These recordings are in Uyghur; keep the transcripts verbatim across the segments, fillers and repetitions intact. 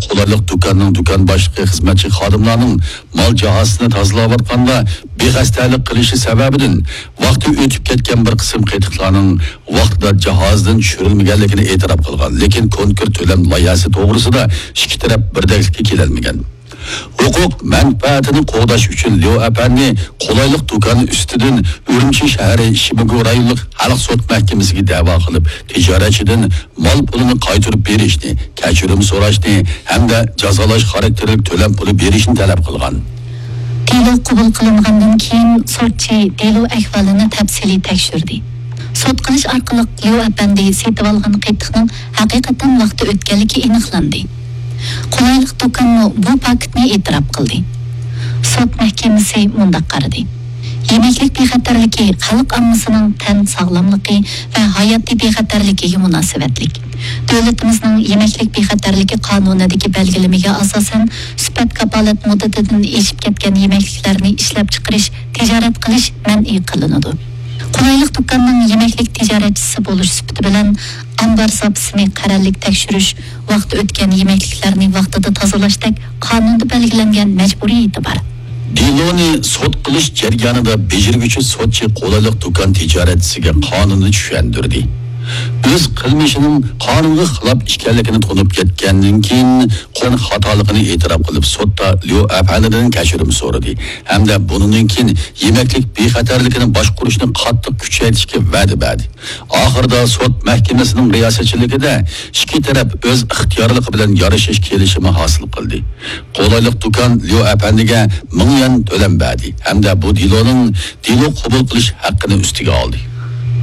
قولايلىق دۇكاننىڭ دۇكان باشلىقى خىزمەتچى خادىملارنىڭ مال جاھازىنى تازىلاۋاتقاندا بىخەستەلىك قىلىشى سەۋەبىدىن ۋاقتى ئۆتۈپ كەتكەن بىر قىسىم قېتىقلارنىڭ ۋاقتىدا جاھازدىن چۈشۈرۈلمىگەنلىكىنى ئېتىراپ قىلغان، لېكىن كونكرېت تۆلەم لايىھەسى توغرىسىدا ئىككى تەرەپ بىردەكلىككە كېلەلمىگەن. ھوقۇق مەنپەئەتىنى قوغداش ئۈچۈن ليۇ ئەپەندى قولايلىق دۇكان ئۈستىدىن ئۈرۈمچى شەھىرى شىمىگۇ رايونلۇق خەلق سوت مەھكىمىسىگە دەۋا قىلىپ، تىجارەتچىدىن مال پۇلىنى قايتۇرۇپ بېرىشنى، كەچۈرۈم سوراشنى ھەمدە جازالاش خاراكتېرلىك تۆلەم پۇلى بېرىشنى تەلەپ قىلغان. دېلو قوبۇل قىلىنغاندىن كېيىن، سوتچى دېلو ئەھۋالىنى تەپسىلىي تەكشۈردى. سوت قىلىش ئارقىلىق ليۇ ئەپەندى سېتىۋالغان قېتىقنىڭ ھەقىقەتەن ۋاقتى ئۆتكەنلىكى ئېنىقلاندى. قولايلىق دۇكانمۇ بۇ پاكىتنى ئېتىراپ قىلدى. سوت مەھكىمىسى مۇنداق قارىدى: يېمەكلىك بىخەتەرلىكى خەلق ئاممىسىنىڭ تەن ساغلاملىقى ۋە ھاياتىي بىخەتەرلىكىگە مۇناسىۋەتلىك. دۆلىتىمىزنىڭ يېمەكلىك بىخەتەرلىكى قانۇنىدىكى بەلگىلىمىگە ئاساسەن، سۈپەت كاپالەت مۇددىتىدىن ئېشىپ كەتكەن يېمەكلىكلەرنى ئىشلەپچىقىرىش، تىجارەت قىلىش مەنئى قىلىنىدۇ. قولايلىق دۇكاننىڭ يېمەكلىك تىجارەتچىسى بولۇش سۈپىتى بىلەن ئامبار زاپىسىنى قەرەللىك تەكشۈرۈش، ۋاقتى ئۆتكەن يېمەكلىكلەرنى ۋاقتىدا تازىلاشتەك قانۇندا بەلگىلەنگەن مەجبۇرىيىتى بار. دېلونى سوت قىلىش جەريانىدا بېجىرگۈچى سوتچى قولايلىق دۇكان تىجارەتچىسىگە قانۇننى چۈشەندۈردى. ئۆز قىلمىشىنىڭ قانۇنغا خىلاپ ئىكەنلىكىنى تونۇپ يەتكەندىن كېيىن، قىلغان خاتالىقىنى ئېتىراپ قىلىپ، سوتتا ليۇ ئەپەندىدىن كەچۈرۈم سورىدى ھەمدە بۇنىڭدىن كېيىن يېمەكلىك بىخەتەرلىكىنى باشقۇرۇشنى قاتتىق كۈچەيتىشكە ۋەدە بەردى. ئاخىرىدا سوت مەھكىمىسىنىڭ رىياسەتچىلىكىدە ئىككى تەرەپ ئۆز ئىختىيارلىقى بىلەن يارىشىش كېلىشىمى ھاسىل قىلدى. قولايلىق دۇكان ليۇ ئەپەندىگە مىڭ يۈەن تۆلەم بەردى ھەمدە بۇ دېلونىڭ دېلو قوبۇل قىلىش ھەققىنى ئۈستىگە ئالدى.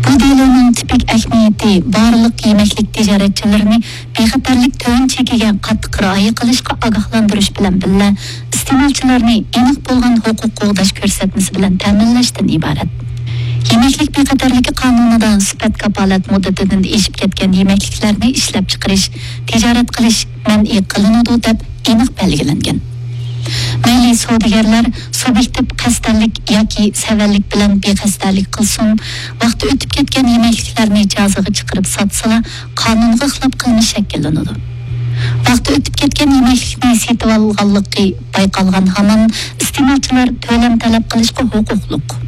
بۇ دېلونىڭ تىپىك ئەھمىيىتى بارلىق يېمەكلىك تىجارەتچىلىرىنى بىخەتەرلىك تۆۋەن چېكىگە قاتتىق رىئايە قىلىشقا ئاگاھلاندۇرۇش بىلەن بىللە، ئىستېمالچىلارنى ئېنىق بولغان ھوقۇق قوغداش كۆرسەتمىسى بىلەن تەمىنلەشتىن ئىبارەت. يېمەكلىك بىخەتەرلىكى قانۇنىدا سۈپەت كاپالەت مۇددىتىدىن ئېشىپ كەتكەن يېمەكلىكلەرنى ئىشلەپچىقىرىش، تىجارەت قىلىش مەنئى قىلىنىدۇ، دەپ ئېنىق بەلگىلەنگەن. مەيلى سودىگەرلەر سۇبيېكتىپ قەستەنلىك ياكى سەۋەنلىك بىلەن بىقەستەنلىك قىلسۇن، ۋاقتى ئۆتۈپ كەتكەن يېمەكلىكلەرنى جازىغا چىقىرىپ ساتسىلا، قانۇنغا خىلاپ قىلمىش شەكىللىنىدۇ. ۋاقتى ئۆتۈپ كەتكەن يېمەكلىكنى سېتىۋالغانلىقى بايقالغان ھامان ئىستېمالچىلار تۆلەم تەلەپ قىلىشقا ھوقۇقلۇق.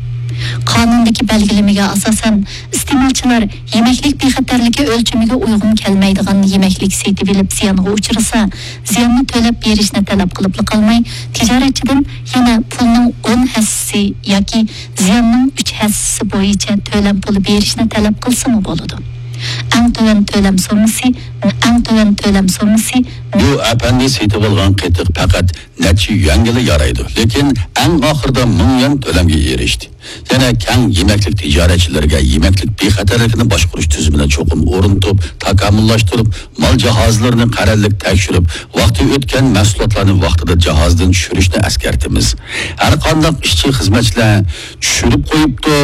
قانۇندىكى بەلگىلىمىگە ئاساسەن، ئىستېمالچىلار يېمەكلىك بىخەتەرلىكى ئۆلچىمىگە ئۇيغۇن كەلمەيدىغان يېمەكلىك سېتىۋېلىپ زىيانغا ئۇچرىسا، زىياننى تۆلەپ بېرىشنى تەلەپ قىلىپلا قالماي، تىجارەتچىدىن يەنە پۇلنىڭ ئون ھەسسىسى ياكى زىياننىڭ ئۈچ ھەسسىسى بويىچە تۆلەم پۇلى بېرىشنى تەلەپ قىلسىمۇ بولىدۇ. ئەڭ تۆۋەن تۆلەم سوممىسى، ئەڭ تۆۋەن تۆلەم سوممىسى بۇ ئەپەندى سېتىۋالغان قېتىق پەقەت نەچچە يۈەنگىلا يارايدۇ، لېكىن ئەڭ ئاخىرىدا مىڭ يۈەن تۆلەمگە ئېرىشتى. يەنە كەڭ يېمەكلىك تىجارەتچىلىرىگە يېمەكلىك بىخەتەرلىكىنى باشقۇرۇش تۈزۈمىنى چوقۇم ئورنىتىپ، تاكامۇللاشتۇرۇپ، مال جاھازلىرىنى قەرەللىك تەكشۈرۈپ، ۋاقتى ئۆتكەن مەھسۇلاتلارنى ۋاقتىدا جاھازدىن چۈشۈرۈشنى ئەسكەرتىمىز. ھەر قانداق ئىشچى خىزمەتچىلەر چۈشۈرۈپ قويۇپتۇ،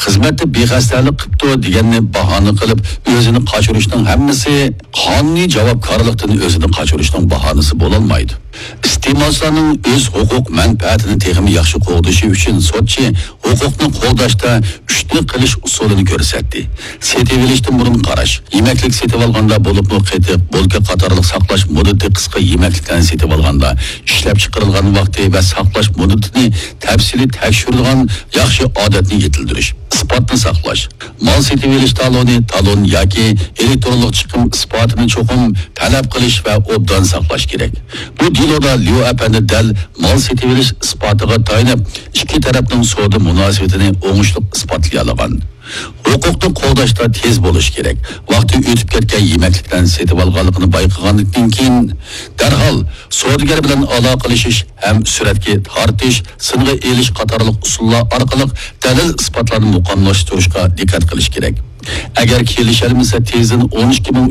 خىزمەتتە بىخەستەلىك قىپتۇ دېگەننى باھانە قىلىپ، ئۆزىنى قاچۇرۇشنىڭ ھەممىسى قانۇنىي جاۋابكارلىقتىن ئۆزىنى قاچۇرۇشنىڭ باھانىسى بولالمايدۇ. ئىستېمالچىلارنىڭ ئۆز ھوقۇق مەنپەئەتىنى تېخىمۇ ياخشى قوغدىشى ئۈچۈن سوتچى ھوقۇقنى قوغداشتا ئۈچنى قىلىش ئۇسۇلىنى كۆرسەتتى. سېتىۋېلىشتىن بۇرۇن قاراش. يېمەكلىك سېتىۋالغاندا، بولۇپمۇ قېتىق، بولكا قاتارلىق ساقلاش مۇددىتى قىسقا يېمەكلىكلەرنى سېتىۋالغاندا، ئىشلەپچىقىرىلغان ۋاقتى ۋە ساقلاش مۇددىتىنى تەپسىلىي تەكشۈرىدىغان ياخشى ئادەتنى يېتىلدۈرۈش. ئىسپاتنى ساقلاش. مال سېتىۋېلىش تالونى، تالون ياكى ئېلېكترونلۇق چىقىم ئىسپاتىنى چوقۇم تەلەپ قىلىش ۋە ئوبدان ساقلاش كېرەك. بۇ دېلودا ليۇ ئەپەندى دەل مال سېتىۋېلىش ئىسپاتىغا تايىنىپ، ئىككى تەرەپنىڭ سودا مۇناسىۋىتىنى ئوڭۇشلۇق ئىسپاتلىيالىغان. ھوقۇقنى قوغداشتا تېز بولۇش كېرەك. ۋاقتى ئۆتۈپ كەتكەن يېمەكلىكلەرنى سېتىۋالغانلىقىنى بايقىغاندىن كېيىن، دەرھال سودىگەر بىلەن ئالاقىلىشىش ھەم سۈرەتكە تارتىش، سىنغا ئېلىش قاتارلىق ئۇسۇللار ئارقىلىق دەلىل-ئىسپاتلارنى مۇقىملاشتۇرۇشقا دىققەت قىلىش كېرەك. ئەگەر كېلىشەلمىسە، تېزدىن ئون ئىككى مىڭ